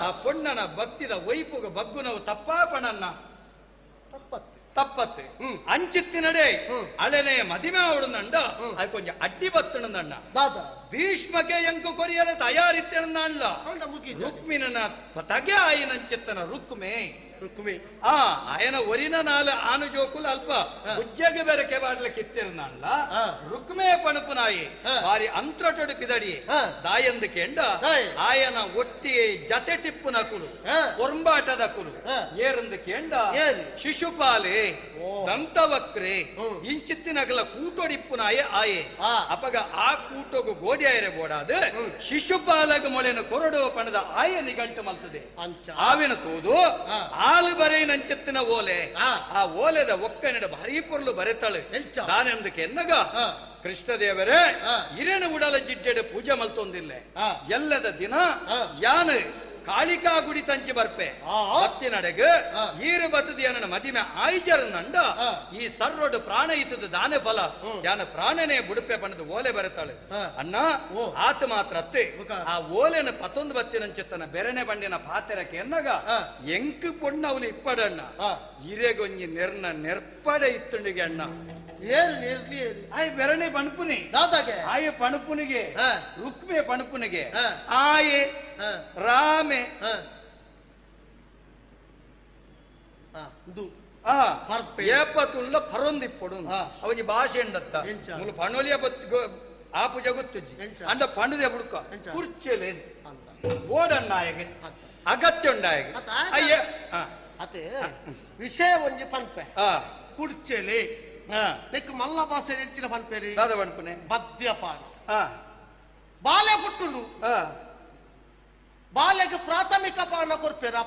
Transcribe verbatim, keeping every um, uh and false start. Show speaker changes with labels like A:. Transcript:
A: ಆ ಪೊಣ್ಣನ ಭಕ್ತಿದ ವೈಪುಗ ಬಗ್ಗುನವು ತಪ್ಪಾಪಣನ್ನ
B: ತಪ್ಪತ್ತೆ
A: ತಪ್ಪತ್ತೆ ಅಂಚಿತ್ತಿನಡೆ ಅಳೆನೆ ಮದಿಮೆ ಅವಡುಂದಂಡ ಅದು ಕೊಂಚ ಅಡ್ಡಿ ಬತ್ತಣಂದಣ್ಣ
B: ದಾದ
A: ಭೀಷ್ಮಕ್ಕೆ ಎಂಕು ಕೊರಿಯರ ತಯಾರಿತ್ತಣಂದಣ್ಣ
B: ಅಂಡ ಮುಗಿ
A: ರುಕ್ಮಿನ ತಗೆ ಆಯಿನಂಚಿತ್ತನ ರುಕ್ಮೆ
B: ರುಕ್ಮಿ
A: ಆ ಆಯನ ಒರಿನ ನಾಲ ಆನು ಜೋಕುಲು ಅಲ್ಪ ಉಜ್ಜೆಗೆ ಬೇರೆ ಕೆಬಾಡ್ಲ ಕಿತ್ತಿರನಲ್ಲ
B: ಆ.
A: ರುಕ್ಮೆ ಪಣಪುನಾಯಿ
B: ಆ.
A: ಬಾರಿ ಅಂತ್ರಟೊಡು ಪಿದಡಿ
B: ಆ.
A: ದಾಯಂದು ಕೆಂಡ
B: ದಾಯ್.
A: ಆಯನ ಒಟ್ಟಿ ಜತೆ ಟಿಪ್ಪುನ ಕುಲು
B: ಆ.
A: ಒರಂಬಾಟದ ಕುಲು
B: ಆ.
A: ಏರಂದು ಕೆಂಡ
B: ಏರು.
A: ಶಿಶುಪಾಲೆ
B: ಓ.
A: ದಂತವಕ್ರೆ
B: ಹ್ಮ್.
A: ಇಂಚಿತ್ತಿನಗಲ ಕೂಟೊಡಿಪ್ಪುನಾಯೆ ಆಯೆ
B: ಆ.
A: ಅಪಗ ಆ ಕೂಟೊಗು ಗೋಡಿ ಆಯರೆ ಬೋಡಾದ ಶಿಶುಪಾಲಗ ಮೊಳೆನ ಕೊರಡು ಪಣದ ಆಯ ನಿಗಂಟು ಮಲ್ತದೆ
B: ಅಂಚ
A: ಆವಿನ ತೂದು
B: ಆ.
A: ಆಲು ಬರೆಯಿನಂಚೆತ್ತಿನ ಓಲೆ
B: ಆ.
A: ಆ ಓಲೆದ ಒಕ್ಕನಿಡ ಭಾರಿ ಪೊರ್ಲು ಬರೆತಳು
B: ಎಂಚ?
A: ದಾನೆಂದಕ್ಕೆ ಎನ್ನಗ
B: ಆ.
A: ಕೃಷ್ಣದೇವರೇ
B: ಆ.
A: ಇರೇನ ಉಡಲ ಜಿಡ್ಡೆಡೆ ಪೂಜೆ ಮಲ್ತೊಂದಿಲ್ಲ
B: ಆ.
A: ಎಲ್ಲದ ದಿನ
B: ಆ.
A: ಯಾನು ಕಾಳಿಕಾ ಗುಡಿ ತಂಚಿ ಬರ್ಪೆ
B: ಆ.
A: ಬತ್ತಿನಡೆಗ
B: ಆ.
A: ಈರು ಬತ್ತದ ನನ್ನ ಮದಿಮೆ ಆಯ್ಜರ ನಂಡ
B: ಆ.
A: ಈ ಸರ್ರೊಡು ಪ್ರಾಣ ಇತ್ತದ ದಾನೆ ಫಲ
B: ಹ್ಮ್.
A: ಯಾನ ಪ್ರಾಣನೇ ಬುಡುಪೆ ಬಣ್ಣದ ಓಲೆ ಬರೆತಾಳೆ
B: ಆ.
A: ಅಣ್ಣ
B: ಓ.
A: ಆತ ಮಾತ್ರ ಅತ್ತೆ
B: ಬುಕ.
A: ಆ ಓಲೆನ ಪತ್ತೊಂದು ಬತ್ತಿನಂಚಿತ್ತನ ಬೆರನೆ ಬಂಡಿನ ಪಾತೆರಕ್ಕೆ ಎನ್ನಗ
B: ಆ.
A: ಎಂಕ್ ಪೊಣ್ಣವಲು ಇಪ್ಪಡಣ್ಣ
B: ಆ.
A: ಇರೆಗೊಂಜಿ ನೆರ್ನ ನೆರ್ಪಡೆ ಇತ್ತುಂಡಿಗೆ ಅಣ್ಣ
B: ಏರು ನೇರ್ಲಿ ಏರು
A: ಆಯ್ ಬೆರಣೆ ಪಣಪುನಿ
B: ದಾದಾಗೆ
A: ಆಯೆ ಪಣಪುನಿಗೆ
B: ಆ.
A: ರುಕ್ಮೆ ಪಣಪುನಿಗೆ
B: ಆ.
A: ಆಯೆ
B: ಆ.
A: ರಾಮೆ
B: ಆ. ಆ, ಇಂದು
A: ಆ
B: ಪರ್ಪೆ.
A: ಏಪತುಳ್ಳ ಪರೊಂದಿಪ್ಪೊಡು
B: ಆ.
A: ಅವನಿ ಭಾಷೆ ಎಂಡತ್ತ
B: ಎಂಚ?
A: ಮುಲು ಪಣೋಲಿಯ ಬತ್ತು ಆಪು ಜಗೊತ್ತುಜ್ಜಿ
B: ಎಂಚ?
A: ಅಂಡ ಪಂಡುದೆ ಬುಡ್ಕ
B: ಎಂಚ?
A: ಕುರ್ಚೆಲೆ
B: ಅಂತ
A: ಬೋಡಣ್ಣಾಯಗೆ
B: ಅತ್ತ.
A: ಅಗತ್ಯ ಉಂಡಾಯಗೆ
B: ಅತ್ತ, ಆಯ್ತು.
A: ಅಯ್ಯ ಆ,
B: ಅತೆ ವಿಷಯ ಒಂಜಿ ಪನ್ಪೆ
A: ಆ,
B: ಕುಡ್ಚೆಲೆ
A: ಆ.
B: ನೆಕ್ ಮಲ್ಲ ಭಾಷೆ ಹೆಚ್ಚಿನ ಪನ್ಪೆರಿ
A: ದಾದ ಪಣಪುನೆ
B: ಮದ್ಯಪಾನ
A: ಆ,
B: ಬಾಲೆ ಪುಟ್ಟುನು
A: ಆ.
B: ಬಾಲೆಗೆ ಪ್ರಾಥಮಿಕ ಪಾನ ಕೊರ್ಪೆರ.